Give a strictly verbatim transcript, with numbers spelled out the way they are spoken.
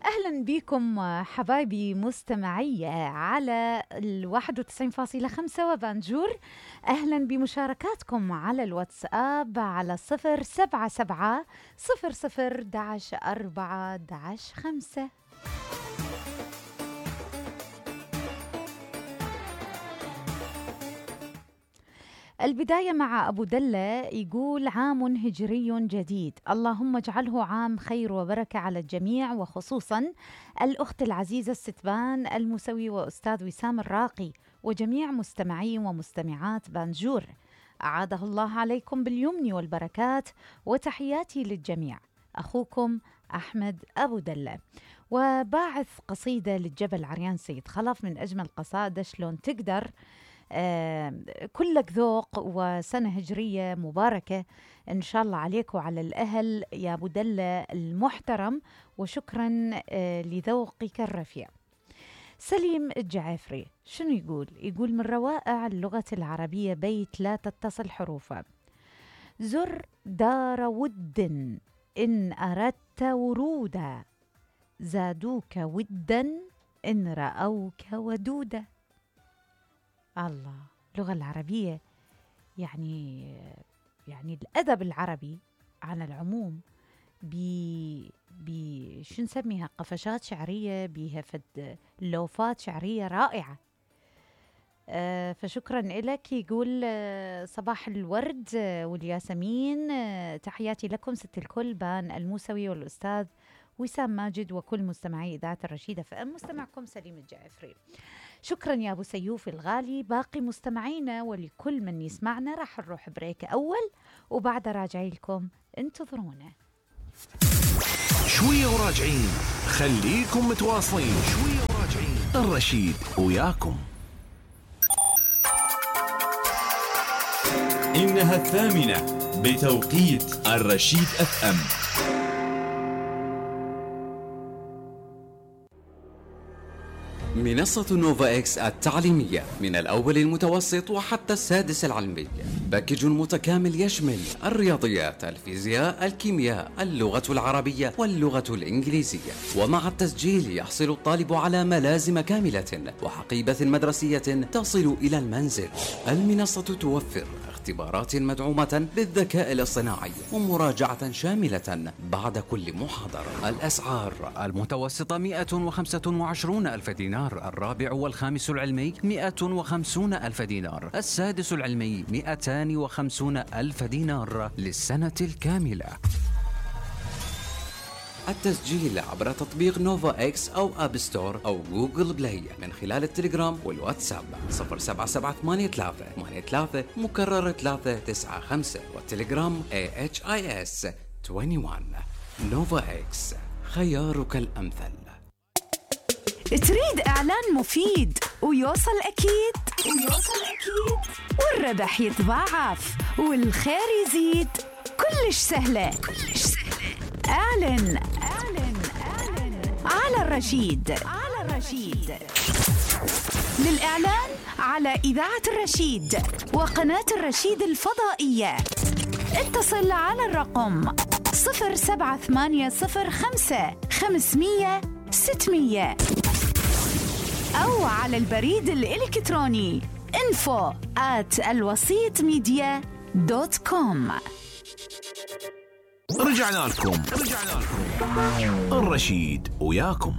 أهلا بكم حبايبي مستمعي على الواحد وتسعين فاصلة خمسة وبانجور. أهلا بمشاركاتكم على الواتساب على صفر سبعة سبعة صفر صفر داش أربعة داش خمسة. البداية مع أبو دلة، يقول عام هجري جديد، اللهم اجعله عام خير وبركة على الجميع، وخصوصا الأخت العزيزة الستبان الموسوي وأستاذ وسام الراقي وجميع مستمعي ومستمعات بانجور، أعاده الله عليكم باليمن والبركات، وتحياتي للجميع. أخوكم أحمد أبو دلة. وباعث قصيدة للجبل عريان سيد خلف من أجمل قصائد شلون تقدر. آه كلك ذوق وسنة هجرية مباركة إن شاء الله عليك وعلى الأهل يا أبو دلة المحترم، وشكرا آه لذوقك الرفيع. سليم الجعافري شنو يقول؟ يقول من روائع اللغة العربية بيت لا تتصل حروفه: زر دار ود إن أردت ورودا، زادوك ودا إن رأوك ودودا. الله، اللغة العربية يعني يعني الأدب العربي على العموم بي بي شو نسميها، قفشات شعرية، بيها فد لوفات شعرية رائعة. آه فشكرا لك. يقول آه صباح الورد والياسمين، آه تحياتي لكم ست الكل بان الموسوي والأستاذ وسام ماجد وكل مستمعي إذاعة الرشيدة فأم. مستمعكم سليم الجعفري. شكرا يا أبو سيوف الغالي. باقي مستمعينا ولكل من يسمعنا راح نروح بريك أول، وبعد راجعي لكم، انتظرونا شوية وراجعين. خليكم متواصلين، شوية وراجعين، الرشيد وياكم. إنها الثامنة بتوقيت الرشيد أف أم. منصة نوفا إكس التعليمية من الأول المتوسط وحتى السادس العلمي، باكج متكامل يشمل الرياضيات، الفيزياء، الكيمياء، اللغة العربية واللغة الإنجليزية. ومع التسجيل يحصل الطالب على ملازم كاملة وحقيبة مدرسية تصل إلى المنزل. المنصة توفر اختبارات مدعومة بالذكاء الاصطناعي ومراجعة شاملة بعد كل محاضرة. الأسعار: المتوسطة مئة وخمسة وعشرون ألف دينار، الرابع والخامس العلمي مئة وخمسون ألف دينار، السادس العلمي مئتان وخمسون ألف دينار للسنة الكاملة. التسجيل عبر تطبيق نوفا إكس أو أب ستور أو جوجل بلاي من خلال التليجرام والواتساب صفر سبعة سبعة ثمانية ثلاثة ثمانية ثلاثة مكرر ثلاثة تسعة خمسة، والتليجرام إيه إتش آي إس واحد وعشرين. نوفا إكس، خيارك الأمثل. تريد إعلان مفيد ويوصل أكيد ويوصل أكيد والربح يتضاعف والخير يزيد؟ كلش سهلة كلش سهلة. اعلن اعلن اعلن على الرشيد على الرشيد. للإعلان على إذاعة الرشيد وقناة الرشيد الفضائية اتصل على الرقم صفر سبعة ثمانية صفر خمسة خمسمية ستمية أو على البريد الإلكتروني info at الوسيط ميديا دوت كوم. رجعنا لكم رجعنا لكم الرشيد وياكم.